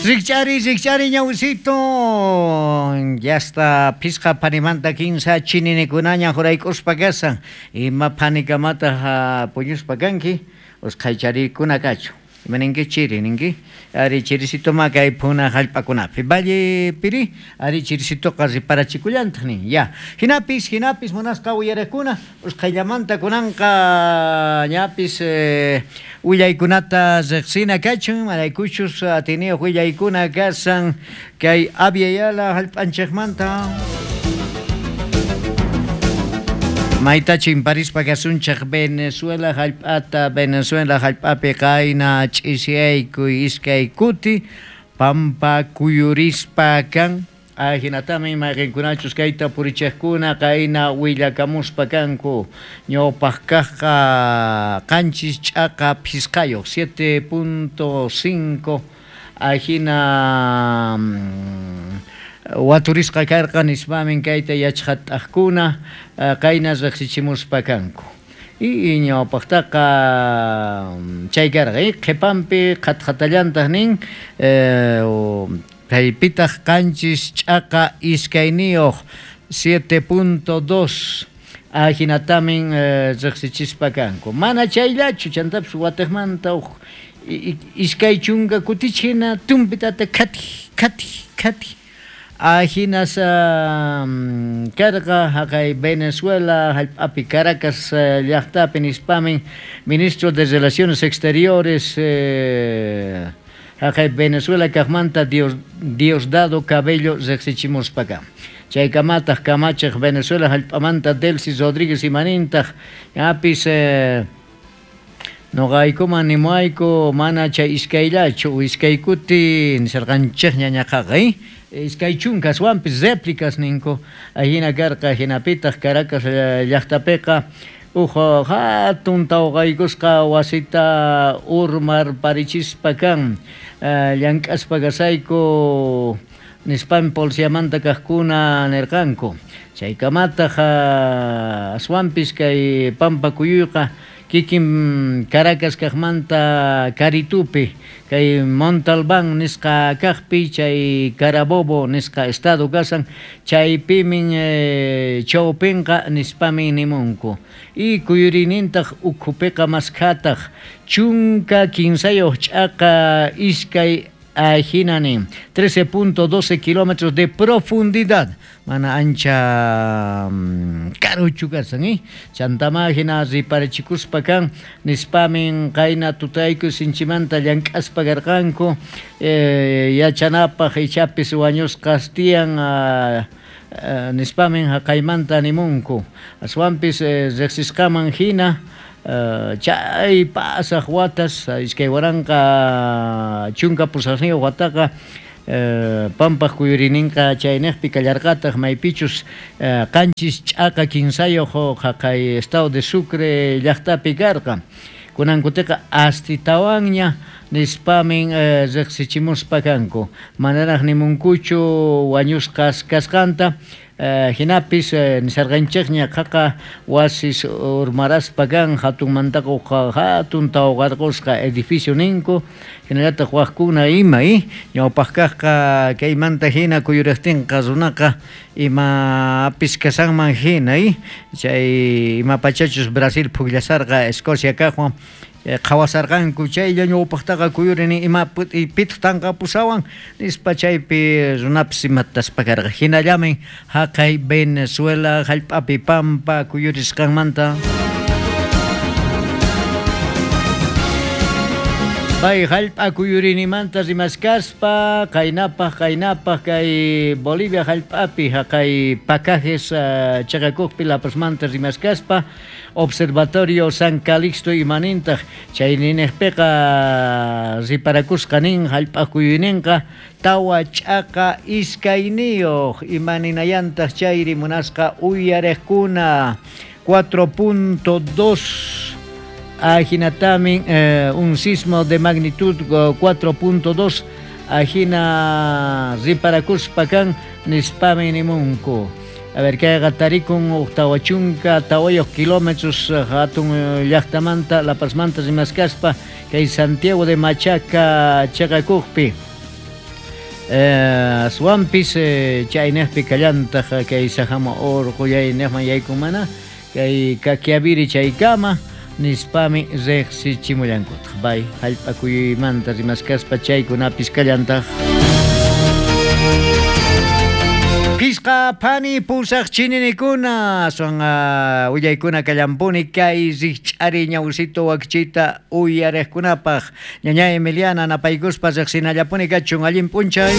Rikch'ari, rikch'ari ñawisito. Yasta phisqa phanimanta kinsa chininikunaña jurayk'uspa kasan. Ima phanikamataq puñuspa kanki? Usqhaycharikuna kachu. Ima ninki chiri ninki? Ari chirisitoma kay phuna hallp'akunapi. Valle piri, ari chirisitoqa riparachikullantaq nin. Ya. Hinapis, hinapis munasqa uyariqkuna, usqhayllamanta kunanqa ñapis willaykunata riqsina kachun, imaraykuchus atiniyuq willaykuna kasan kay Abya Yala hallp'anchikmanta. Mayta chimparispa kasunchik Venezuela hallp'ata, Venezuela hallp'api qayna ch'isiyaykuy iskay kuti pampa kuyurispa kan. Ajinatami mayqinkunachus kayta purichiqkuna qayna willakamuspa kanku. Ñawpaq kaqqa qanchis ch'aqa phisqayuq 7.5 ajina waturisqa karqa nispamin kayta yachqat'aqkuna qayna riqsichimuspa kanku. Y ñawpaqtaqa chay karqa qhipanpi qhatqhatallantaq nin kaypitaq qanchis ch'aqa iskayniyuq 7.2 ajinatamin riqsichispa kanku. Mana chayllachu chantapis watiqmanta uj iskay chunka kutich hina tumpitata khati khati khati ajinas karqa haqay Venezuela hallp'api Caracas llaqtapi nispamin ministro de Relaciones Exteriores haqay Venezuela kaqmanta Diosdado Cabello riqsichimuspa kan. Chaykamataq kamachiq Venezuela hallp'amanta Delcy Rodríguez imanintaq ñapis noqaykuman nimuayku mana chay iskayllachu iskay kuti nisarqanchikña ñaqaqa iskay chunka aswanpis réplicas ninku ajina karqa hinapitaq Caracas llaqtapiqa uj hatun tawqaykusqa wasita urmarparichispa kan llank'aspa kasayku nispami policiamanta kaqkuna nirqanku. Chaykamataq aswanpis kay pampa kuyuyqa kikin Caracas kaqmanta Caritupi kay Montalbán nisqa kaqpi chay Carabobo nisqa estado kasan chaypimin chawpinqa nispamin nimunku. Y kuyuriynintaq ukhupiqa maskhataq chunka kinsayuq ch'aqa iskay ajina nin 13.12 kilómetros de profundidad mana ancha karuchu kasan chantama hina riparachikuspa kan nispamin qayna tutayku sinchimanta llank'aspa karqanku yachanapaq ichapis wañusqas tiyan nispamin haqaymanta nimunku aswanpis riqsisqaman hina chay pasaq watas iskay waranqa chunka pusaqniyuq wataqa pampaq kuyurininqa chayniqpi kallarqataq maypichus qanchis ch'aqa kinsayuq haqay estado de Sucre llaqtapi karqa kunankutiqa astitawanña nispamin riqsichimuspa kanku manaraq nimunkuchu wañusqas kasqanta hinapis nisarqanchikña qaqa wasis urmaraspa kan hatunmantaqa hatun tawqarqusqa edificio ninku hinallataq waqkuna ima ñawpaq kaqqa kaymanta hina kuyuriqtinqa runaqa imapis kasanman hina chay ima pachachus Brasil pukllasarqa Escocia kaqwan qhawasarqanku chaylla ñawpaqtaqa kuyurini ima pitaq tanqapusawan nispa chaypi runapis imataspa karqa hinallamin haqay Venezuela hallp'api pampa kuyurisqanmanta. Pay hallp'a kuyurinimanta rimaskaspa qaynapaq qaynapaq kay Bolivia hallp'api haqay Pacajes chaqakuqpi La Pazmanta rimaskaspa Observatorio San Calixto imanintaq chay niniqpiqa riparakusqa nin hallp'a kuyuyninqa tawa ch'aqa iskayniyuq imaninayantaq chayri munasqa uyariqkuna 4.2 ajinatamin un sismo de magnitud 4.2 ajina riparakuspa kan nispamin nimunku. A ver, kayqa tarikun tawa chunka tawayuq kilómetros hatun llaqtamanta La Pazmanta rimaskaspa kay Santiago de Machaca chaqakuqpi. Aswanpis chaynejpi kallantaj kay Sajama orqollaynejman yaykunmana kay Kakiaviri chaykama nispami rejsichimullankutaj. Bay jallp'a kuyuymanta rimaskaspa chaykunapis kallantaj. Phisqa phani pusaj chininikuna aswan willaykuna kallampuni kay rijch'ari ñawsito wakichiyta uyarejkunapaj. Ñaña Emiliana napaykuspa rejsinallapuni kachun allin p'unchay.